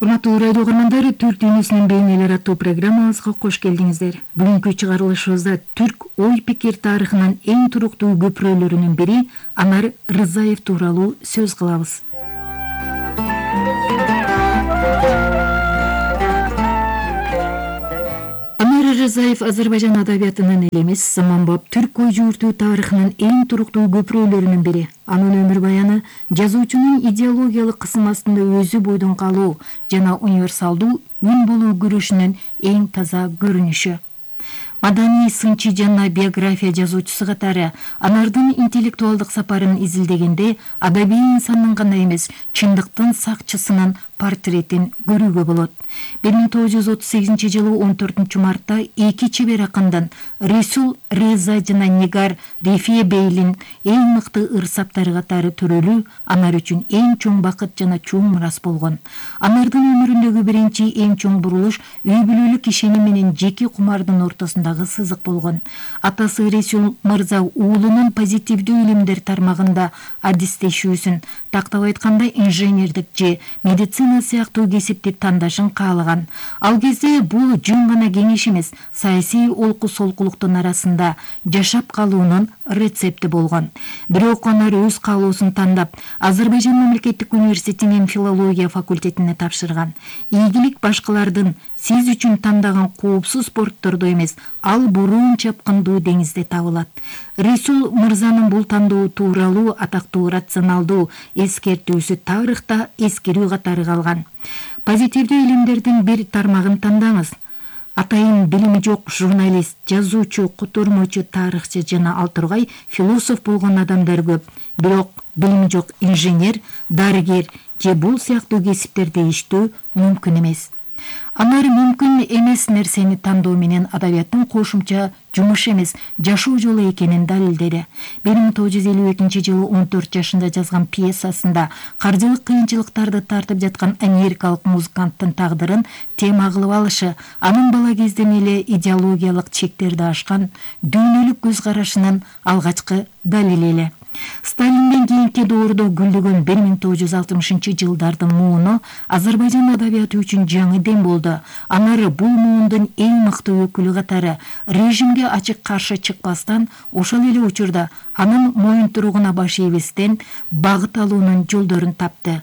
Урматтуу радио угармандар, Түрк дүйнөсүнүн бейнелери аттуу программабызга кош келдиңиздер. Бүгүнкү чыгарылышыбызда түрк ой-пикир тарыхынын эң туруктуу көпүрөлөрүнүн бири Анар Рызаев тууралуу сөз кылабыз. Анар Рызаев Азербайжан адабиятынын эле эмес, заманбап түрк ой жууртуу тарыхынын эң туруктуу көпүрөлөрүнүн бири. Анын өмүр баяны жазуучунун идеологиялык кысым астында өзү бойдон калуу жана универсалдуу үн болуу күрөшүнүн эң таза көрүнүшү. Маданий сынчы жана биография жазуучусу катары Анардын интеллектуалдык сапарын изилдегенде адабий инсандын гана эмес, чындыктын сакчысынын портретин көрүүгө болот. 1938-жылы 14-мартта эки чебер акындан Ресул Реза жана Нигар Рефие Бейлин эң мыкты ырсаптары катары төрөлүү Анар үчүн эң чоң бакыт жана чоң мурас болгон. Анардын өмүрүндөгү биринчи эң чоң бурулуш үй бүлөлүк ишеним менен жеке кумардын ортосундагы сызык болгон. Атасы Ресул мырза уулунун позитивдүү илимдер тармагында адистешүүсүн, тактап айтканда инженердик же медицина сыяктуу кесипти тандашын каалаган. Ал кезде бул жөн гана кеңеш эмес, саясий олку солкулуктун арасында жашап калуунун рецепти болгон. Бирок Анар өз каалоосун тандап, Азербайжан мамлекеттик университетинин филология факультетине тапшырган. Ийгилик башкалардын сиз үчүн тандаган коопсуз порттордо эмес, ал буруун чапкындуу деңизде табылат. Ресул мырзанын бул тандоо тууралуу атактуу рационалдуу эскертүүсү тарыхта эскерүү катары калган. Позитивдүү илимдердин бир тармагын тандаңыз. Атайын билими жок журналист, жазуучу, котормочу, тарыхчы жана ал тургай философ болгон адамдар көп. Бирок билими жок инженер, дарыгер же бул сыяктуу кесиптерде иштөө мүмкүн эмес. Анар мүмкүн эмес нерсени тандоо менен адабияттын кошумча жумуш эмес, жашоо жолу экенин далилдеди. 1952-жылы 14 жашында жазган пьесасында каржылык кыйынчылыктарды тартып жаткан америкалык музыканттын тагдырын тема кылып алышы, анын бала кезден эле идеологиялык чектерди ашкан дүйнөлүк көз карашынын алгачкы далили эле. Сталинден кийинки доордо гүлдөгөн 1960-жылдардын мууну Азербайжан адабияты үчүн жаңы дем болду. Анар бул муундун эң мыкты өкүлү катары режимге ачык каршы чыкпастан, ошол эле учурда анын моюнтуругуна баш ийбестен багыт алуунун жолдорун тапты.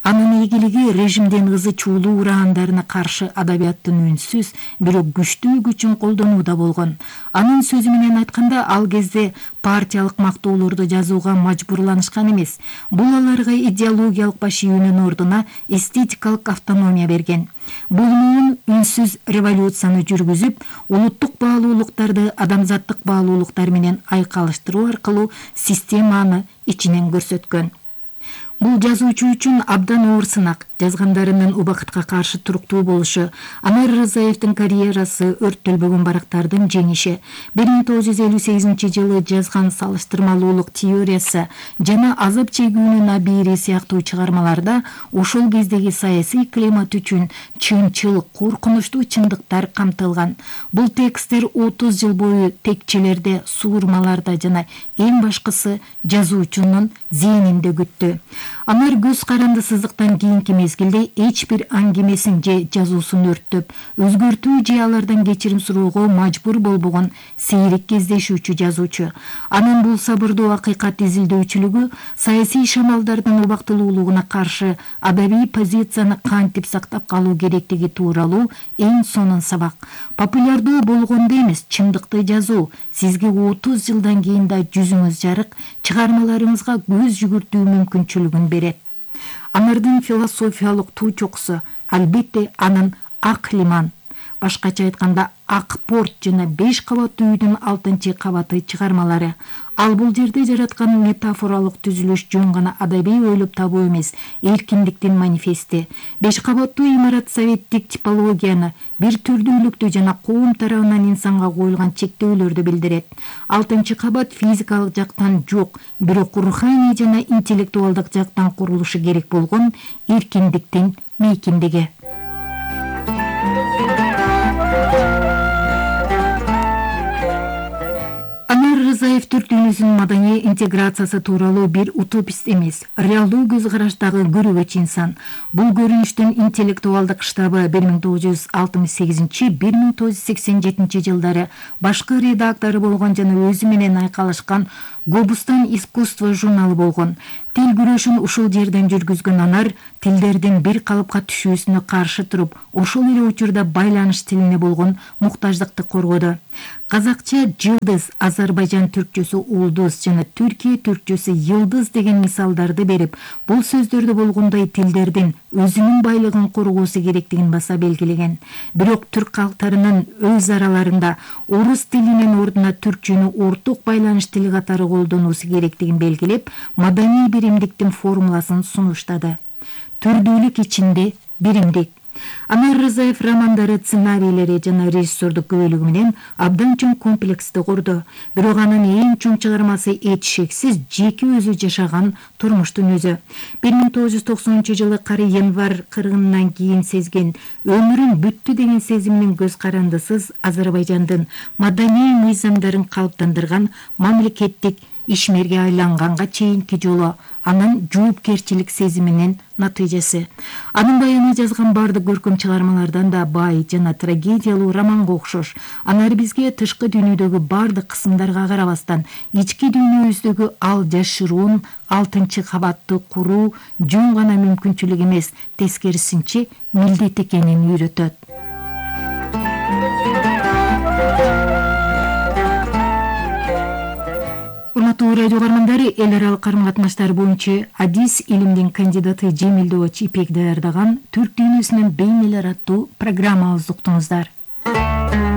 Анын ийгилиги режимдин ызы чуулуу ураандарына каршы адабияттын үнсүз, бирок күчтүү күчүн колдонууда болгон. Анын сөзү менен айтканда, ал кезде партиялык мактоолорду жазууга мажбурланышкан эмес. Бул аларга идеологиялык баш ийүүнүн ордуна эстетикалык автономия берген. Бул муун үнсүз революцияны жүргүзүп, улуттук баалуулуктарды адамзаттык баалуулуктар менен айкалыштыруу аркылуу системаны ичинен көрсөткөн. Бул жазуучу үчүн абдан оор сынак. Жазгандарынын убакытка каршы туруктуу болушу, Анар Рызаевдин карьерасы өрттөлбөгөн барактардын жеңиши. 1958-жылы жазган салыштырмалуулук теориясы жана азап чегүүнүн абийири сыяктуу чыгармаларда ошол кездеги саясий климат үчүн чынчыл, коркунучтуу чындыктар камтылган. Бул тексттер 30 жыл бою текчелерде, суурмаларда жана эң башкысы жазуучунун зээнинде күттү. Анар көз каранды сызыктан кийинки мезгилде эч бир аңгемесин же жазуусун өрттөп, өзгөртүү же алардан кечирим суроого мажбур болбогон сейрек кездешүүчү жазуучу. Анын бул сабырдуу акыйкат изилдөөчүлүгү саясий шамалдардын убактылуулугуна каршы адабий позицияны кантип сактап калуу керектиги тууралуу эң сонун сабак. Популярдуу болгондо эмес, чындыкты жазуу сизге 30 жылдан кийин да жүзүңүз жарык, чыгармаларыңызга көз жүгүртүү мүмкүнчүлүгүн берет. Анардын философиялык туу чокусу албетте анын Ак лиман, башкача айтканда Ак порт жана 5 кабаттуу үйдүн 6-кабаты чыгармалары. Ал бул жерде жараткан метафоралык түзүлүш жөн гана адабий ойлоп табуу эмес, эркиндиктин манифести. 5 кабаттуу имарат советтик типологияны, бир түрдүүлүктү жана коом тарабынан инсанга коюлган чектөөлөрдү билдирет. 6-кабат физикалык жактан жок, бирок руханий жана интеллектуалдык жактан курулушу керек болгон эркиндиктин мейкиндиги. Рзаев түрк дүйнөсүнүн маданий интеграциясы тууралуу бир утопист эмес, реалдуу көз караштагы көрөгөч инсан. Бул көрүнүштүн интеллектуалдык штабы 1968-1987 жылдары башкы редактору болгон жана өзү менен айкалышкан Гобустан искусство журналы болгон. Тил күрөшүн ушул жерден жүргүзгөн анар тилдердин бир калыпка түшүүсүнө каршы туруп, ошол эле учурда байланыш тилине болгон муктаждыкты коргоду. Казакча жылдыз, Азербайжан түркчөсү улдуз жана Түркия түркчөсү йылдыз деген мисалдарды берип, бул сөздөрдө болгондой тилдердин өзүнүн байлыгын коргоосу керектигин баса белгилеген. Бирок түрк калктарынын өз араларында орус тилинин ордуна түркчөнү орток байланыш тили катары колдонуусу керектигин белгилеп, маданий биримдиктин формуласын сунуштады. Түрдүүлүк ичинде биримдик. Анар Рзаев романдары, сценарийлери жана режиссердук күбөлүгү менен абдан чоң комплексти курду. Бирок анын эң чоң чыгармасы эч шексиз жеке өзү жашаган турмуштун өзү. 1990 кары январь кыргынынан кийин сезген өмүрүн бүттү деген сезиминин көз карандысыз Азербайжандын маданий мыйзамдарын калыптандырган мамлекеттик ишмерге айланганга чейинки жолу анын жоопкерчилик сезиминин натыйжасы. Анын баяны жазган бардык көркөм чыгармалардан да бай жана трагедиялуу романга окшош. Анар бизге тышкы дүйнөдөгү бардык кысымдарга карабастан ички дүйнөбүздөгү ал жашыруун 6 кабатты куруу жөн гана мүмкүнчүлүк эмес, тескерисинче милдет экенин үйрөтөт. Урматтуу радио угармандары, эл аралык карым-катнаштар боюнча адис илимдин кандидаты Жемилдооч Ипек даярдаган Түрк дүйнөсүнүн бейнелери аттуу программабызды уктуңуздар.